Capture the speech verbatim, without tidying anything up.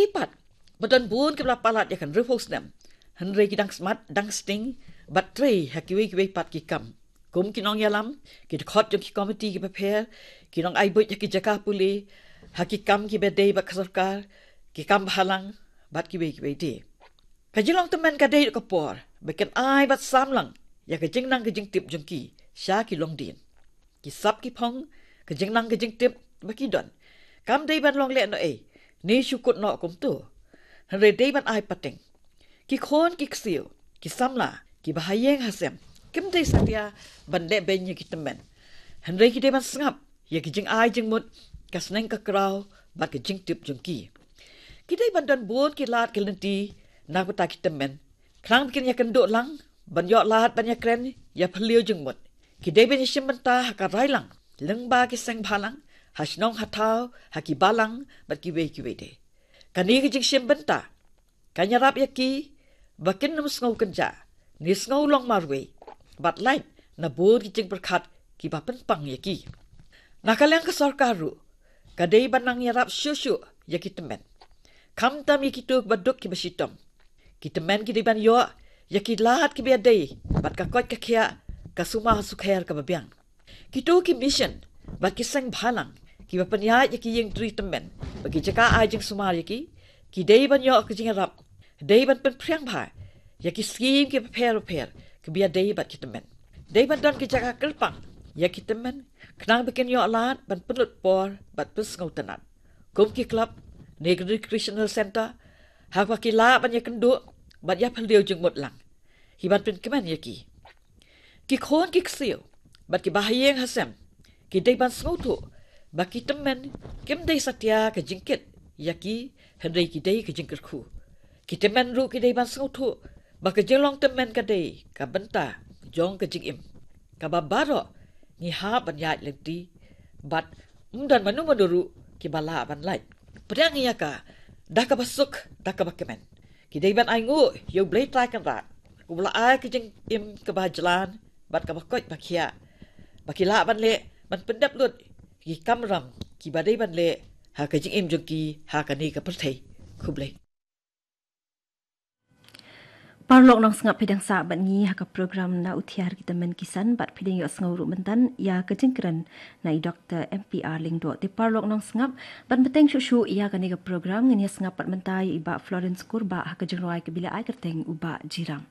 Ki pat, ba don bun ki ba la palat ïa ka hynriewphew snem, hynrei ki dang smat, dang sting bad trei ha kiwei kiwei pat ki kam. Kum ki nongïalam, ki dkhot jong ki komiti ki bapher, ki nongai buit ha ki jaka pule, ha ki kam ki ba dei bad ka sorkar, ki kam bhalang, bad kiwei kiwei de. Ka jinglong tymmen ka dei ka por ba kin ai bad sam lang ïa ka jingnang ka jingtip jong ki sha ki longdien. Ki sap ki phong, ka jingnang ka jingtip ba ki don, kam dei ban long lehnohei ne shu kut noh kumto, hynrei dei ban ai pateng. Ki khun ki ksiew, ki samla, ki ba ha ïing ha sem, kim dei satia ban leh beiñ ïa ki tymmen, hynrei ki dei ban sngap ïa ki jingai jingmut, ka sneng ka kraw bad ka jingtip jong ki. Ki dei ban don bun ki lad ki lynti na ka bynta ki tymmen, khnang ba kin ïakynduh lang, ban ïoh lad ban ïakren ïa phylliew jingmut. Ki dei ban ïashim bynta ha ka rai lang, lyngba ki seng bhalang, ha shnong ha thaw, ha ki balang bad kiwei kiwei de. Kane ka jingshim bynta kan ïarap ïa ki ba kin ym sngew kynjah ne sngew long marwei bad lait na bun ki jingpyrkhat ki ba pynpang ïa ki. Na ka liang ka sorkar ruh ka dei ban nang ïarap shuh shuh ïa ki tymmen, khamtam ïa kito ki ba duk ki ba shitom. Ki tymmen ki dei ban ïoh ïa ki lad ki ba ïadei bad ka koit ka khiah, ka sumar sukher ka ba biang. Kito ki mission bad ki seng bhalang ki ba pynïaid ïa ki ïing tri tymmen bad ki jaka ai jingsumar ïa ki, ki dei ban ïoh ka jingïarap, dei ban pynphriang bha ïa ki skim ki bapher bapher ki ba ïadei bad ki tymmen. Dei ban don ki jaka kyrpang ïa ki tymmen, khnang ba kin ïoh lad ban pynlut por bad pynsngewtynnad, kum ki club ne ki recreational centre, ha kaba ki lah ban ïakynduh bad ïaphylliew jingmut lang. Ki ban pynkmen ïa ki. Ki khun ki ksiew bad ki ba ha ïing ha sem, ki dei ban sngewthuh ba ki tymmen kim dei satia ka jingkit ïa ki, hynrei ki dei ka jingkyrkhu. Ki tymmen ruh ki dei ban sngewthuh ba ka jinglong tymmen ka dei ka bynta jong ka jingim, ka ba baroh ngi hap ban ïaid lynti, bad ym don mano mano ruh ki ba lah ban lait. Pdiang ïa ka da ka ba suk, da ka ba kmen. Ki dei ban ainguh ïa U Blei Trai Kynrad, u ba la ai ka jingim ka ba jlan bad ka ba koit ba khiah, ba ki lah ban leh, ban pyndep lut ki kamram ki ba dei ban leh ha ka jingim jong ki ha kane ka pyrthei. Khublei. Paralok nongsngap, phi dang sah bad ngi ha ka program Na U Thiar Ki Tymmen Ki San bad phi dang ïohsngew ruh mynta ïa ka jingkren na i Doktor M P R Lyngdoh. Te paralok nongsngap, ban bteng shuh shuh ïa kane ka program, ngin ïa sngap pat mynta ïa i Bah Florence Kurbah ha ka jingrwai ka ba la ai kyrteng U Bah Jiram.